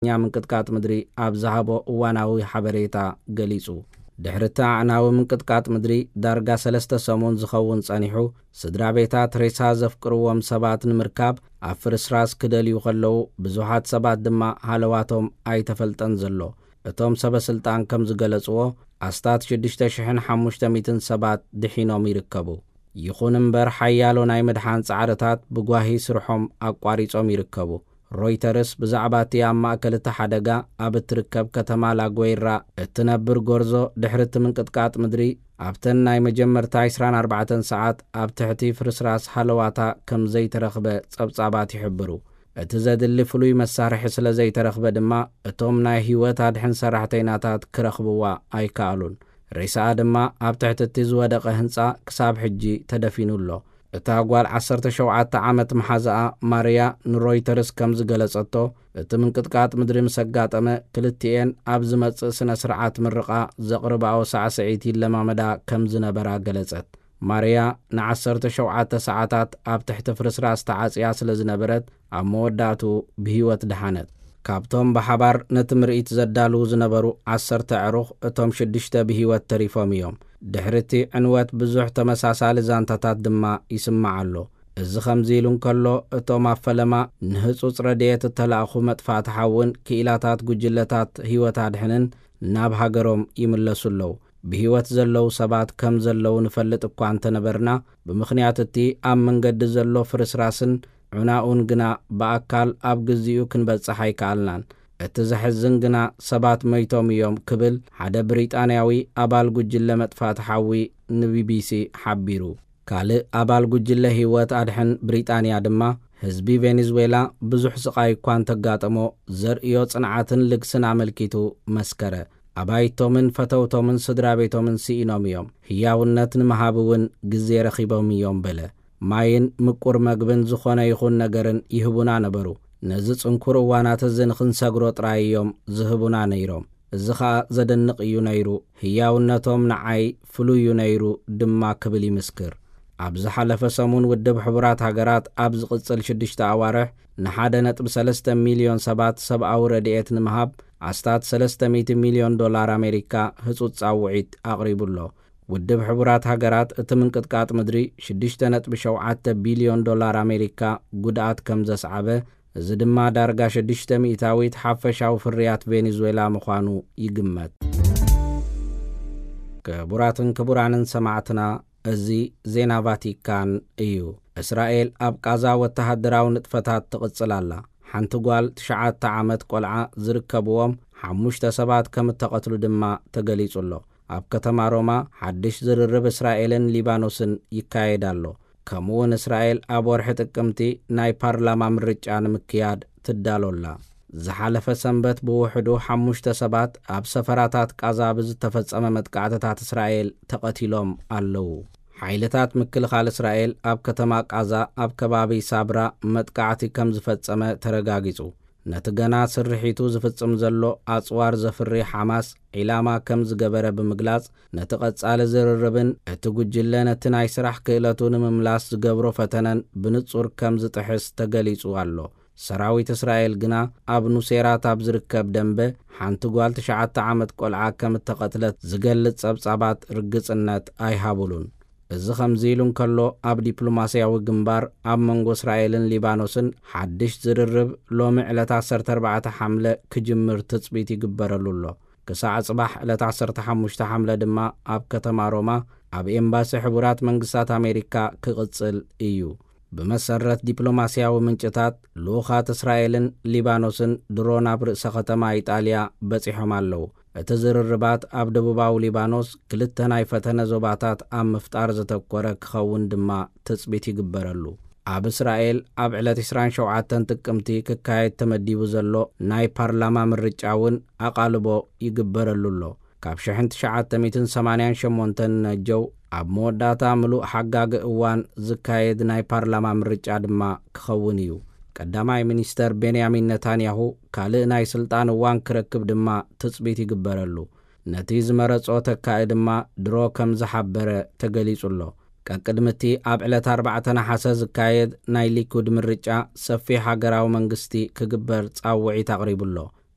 ምንቅጥቃጥ ምድሪ ኣብ ዝሃቦ እዋናዊ ሓበሬታ ገሊጹ። ድሕሪ እቲ ኣዕናዊ ምንቅጥቃጥ ምድሪ ዳርጋ ሰለስተ ሰሙን ዝኸውን ጸኒሑ፣ ስድራ ቤታት ሬሳ ዘፍቅርዎም ሰባት ንምርካብ ኣብ ፍርስራስ ክደልዩ ከለዉ፣ ብዙሓት ሰባት ድማ ሃለዋቶም ኣይተፈልጠን ዘሎ። እቶም ሰበ ስልጣን ከም ዝገለጽዎ፣ ኣስታት ሽዱሽተ ሽሕን ሓሙሽተ ሚእትን ሰባት ድሒኖም ይርከቡ። ይኹን እምበር፣ ሓያሎ ናይ ምድሓን ጻዕርታት ብጓሂ ስርሖም ኣቋሪጾም ይርከቡ። ሮይተርስ ብዛዕባ እቲ ኣብ ማእከል እቲ ሓደጋ ኣብ እትርከብ ከተማ ላጎይራ እትነብር ጎርዞ፣ ድሕሪ እቲ ምንቅጥቃጥ ምድሪ ኣብተን ናይ መጀመርታ ዕስራን ኣርባዕተን ሰዓት ኣብ ትሕቲ ፍርስራስ ሃለዋታ ከም ዘይተረኽበ ጸብጻባት ይሕብሩ። እቲ ዘድሊ ፍሉይ መሳርሒ ስለ ዘይተረኽበ ድማ፣ እቶም ናይ ህይወት ኣድሕን ሰራሕተይናታት ክረኽብዋ ኣይከኣሉን። ሬሳኣ ድማ ኣብ ትሕቲ እቲ ዝወደቐ ህንጻ ክሳብ ሕጂ ተደፊኑ ኣሎ። እታ ጓል ዓሰርተ ሸውዓተ ዓመት መሓዛኣ ማርያ ንሮይተርስ ከም ዝገለጸቶ፣ እቲ ምንቅጥቃጥ ምድሪ ምስ ኣጋጠመ፣ ክልቲኤን ኣብ ዝመጽእ ስነ ስርዓት ምርቓ ዘቕርባኦ ሳዕስዒት ይለማመዳ ከም ዝነበራ ገለጸት። ማርያ ንዓሰርተ ሸውዓተ ሰዓታት ኣብ ትሕቲ ፍርስራስ ተዓጽያ ስለ ዝነበረት፣ ኣብ መወዳእቱ ብህይወት ደሓነት። ካብቶም ብሓባር ነቲ ምርኢት ዘዳልዉ ዝነበሩ ዓሰርተ ኣዕሩኽ፣ እቶም ሽዱሽተ ብህይወት ተሪፎም እዮም። ድሕሪ እቲ ዕንወት ብዙሕ ተመሳሳሊ ዛንታታት ድማ ይስማዕ ኣሎ። እዚ ከምዚ ኢሉ እንከሎ፣ እቶም ኣብ ፈለማ ንህጹጽ ረድኤት እተላእኹ መጥፋእቲ ሓውን ክኢላታት ጉጅለታት ህይወት ኣድሕንን ናብ ሃገሮም ይምለሱ ኣለዉ። ብህይወት ዘለዉ ሰባት ከም ዘለዉ ንፈልጥ እኳ እንተነበርና፣ ብምኽንያት እቲ ኣብ መንገዲ ዘሎ ፍርስራስን ዑናኡን ግና ብኣካል ኣብ ግዚኡ ክንበጽሕ ኣይከኣልናን። እቲ ዘሕዝን ግና፣ ሰባት መይቶም እዮም ክብል ሓደ ብሪጣንያዊ ኣባል ጉጅለ መጥፋእቲ ሓዊ ንቢቢሲ ሓቢሩ። ካልእ ኣባል ጉጅለ ህይወት ኣድሕን ብሪጣንያ ድማ፣ ህዝቢ ቬኔዙዌላ ብዙሕ ስቓይ እኳ እንተጋጠሞ፣ ዘርእዮ ጽንዓትን ልግስን ኣመልኪቱ መስከረ። ኣባይቶምን ፈተውቶምን ስድራ ቤቶምን ስኢኖም እዮም። ህያውነት ንምሃብ እውን ግዜ ረኺቦም እዮም በለ። ማይን ምቁር መግብን ዝኾነ ይኹን ነገርን ይህቡና ነበሩ። ነዚ ጽንኩር እዋናት እዚ ንኽንሰግሮ ጥራይ እዮም ዝህቡና ነይሮም። እዚ ኸኣ ዘደንቕ እዩ ነይሩ። ህያውነቶም ንዓይ ፍሉይ እዩ ነይሩ ድማ ክብል ይምስክር። ኣብ ዝሓለፈ ሰሙን ውድብ ሕቡራት ሃገራት ኣብ ዝቕጽል ሽዱሽተ ኣዋርሕ ንሓደ ነጥቢ ሰለስተ ሚልዮን ሰባት ሰብኣዊ ረድኤት ንምሃብ ኣስታት ሰለስተ ሚእቲ ሚልዮን ዶላር ኣሜሪካ ህጹጽ ጻውዒት ኣቕሪቡ ኣሎ። ውድብ ሕቡራት ሃገራት እቲ ምንቅጥቃጥ ምድሪ ሽዱሽተ ነጥቢ ሸውዓተ ቢልዮን ዶላር ኣሜሪካ ጉድኣት ከም ዘስዓበ፣ እዚ ድማ ዳርጋ ሽዱሽተ ሚእታዊት ሓፈሻዊ ፍርያት ቬኔዙዌላ ምዃኑ ይግመት። ክቡራትን ክቡራንን ሰማዕትና፣ እዚ ዜና ቫቲካን እዩ። እስራኤል ኣብ ቃዛ ወተሃደራዊ ንጥፈታት ትቕጽል ኣላ። ሓንቲ ጓል ትሽዓተ ዓመት ቆልዓ ዝርከብዎም ሓሙሽተ ሰባት ከም እተቐትሉ ድማ ተገሊጹ ኣሎ። ኣብ ከተማ ሮማ ሓድሽ ዝርርብ እስራኤልን ሊባኖስን ይካየድ ኣሎ። ከምኡውን እስራኤል ኣብ ወርሒ ጥቅምቲ ናይ ፓርላማ ምርጫ ንምክያድ ትዳሎ ኣላ። ዝሓለፈ ሰንበት ብውሕዱ ሓሙሽተ ሰባት ኣብ ሰፈራታት ቃዛ ብዝተፈጸመ መጥቃዕትታት እስራኤል ተቐቲሎም ኣለዉ። ሓይልታት ምክልኻል እስራኤል ኣብ ከተማ ቃዛ ኣብ ከባቢ ሳብራ መጥቃዕቲ ከም ዝፈጸመ ተረጋጊጹ። ነቲ ገና ስርሒቱ ዝፍጽም ዘሎ ኣጽዋር ዘፍሪ ሓማስ ዒላማ ከም ዝገበረ ብምግላጽ፣ ነቲ ቀጻሊ ዝርርብን እቲ ጉጅለ ነቲ ናይ ስራሕ ክእለቱ ንምምላስ ዝገብሮ ፈተነን ብንጹር ከም ዝጥሕስ ተገሊጹ ኣሎ። ሰራዊት እስራኤል ግና ኣብ ኑሴራት ኣብ ዝርከብ ደንበ ሓንቲ ጓል ትሽዓተ ዓመት ቆልዓ ከም እተቐትለት ዝገልጽ ጸብጻባት ርግጽነት ኣይሃቡሉን። እዚ ከምዚ ኢሉ እንከሎ፣ ኣብ ዲፕሎማስያዊ ግንባር ኣብ መንጎ እስራኤልን ሊባኖስን ሓድሽ ዝርርብ ሎሚ ዕለት ዓሰርተ ኣርባዕተ ሓምለ ክጅምር ትጽቢት ይግበረሉ ኣሎ። ክሳዕ ጽባሕ ዕለት ዓሰርተ ሓሙሽተ ሓምለ ድማ ኣብ ከተማ ሮማ ኣብ ኤምባሲ ሕቡራት መንግስታት ኣሜሪካ ክቕጽል እዩ። ብመሰረት ዲፕሎማስያዊ ምንጭታት፣ ልኡኻት እስራኤልን ሊባኖስን ድሮን ኣብ ርእሰ ከተማ ኢጣልያ በጺሖም ኣለዉ። እቲ ዝርርባት ኣብ ደቡባዊ ሊባኖስ ክልተ ናይ ፈተነ ዞባታት ኣብ ምፍጣር ዘተኮረ ክኸውን ድማ ትጽቢት ይግበረሉ። ኣብ እስራኤል ኣብ ዕለት ዕስራን ሸውዓተን ጥቅምቲ ክካየድ ተመዲቡ ዘሎ ናይ ፓርላማ ምርጫ እውን ኣቓልቦ ይግበረሉ ኣሎ። ካብ ሽሕን ትሽዓተ ሚእትን ሰማንያን ሸሞንተን ነጀው ኣብ መወዳእታ ምሉእ ሓጋጊ እዋን ዝካየድ ናይ ፓርላማ ምርጫ ድማ ክኸውን እዩ። ቀዳማይ ሚኒስተር ቤንያሚን ነታንያሁ ካልእ ናይ ስልጣን እዋን ክረክብ ድማ ትጽቢት ይግበረሉ። ነቲ ዝመረጾ ተካኢ ድማ ድሮ ከም ዝሓበረ ተገሊጹ ኣሎ። ቀቅድሚ እቲ ኣብ ዕለት ኣርባዕተ ነሓሰ ዝካየድ ናይ ሊኩድ ምርጫ፣ ሰፊሕ ሃገራዊ መንግስቲ ክግበር ጻውዒት ኣቕሪቡ ኣሎ።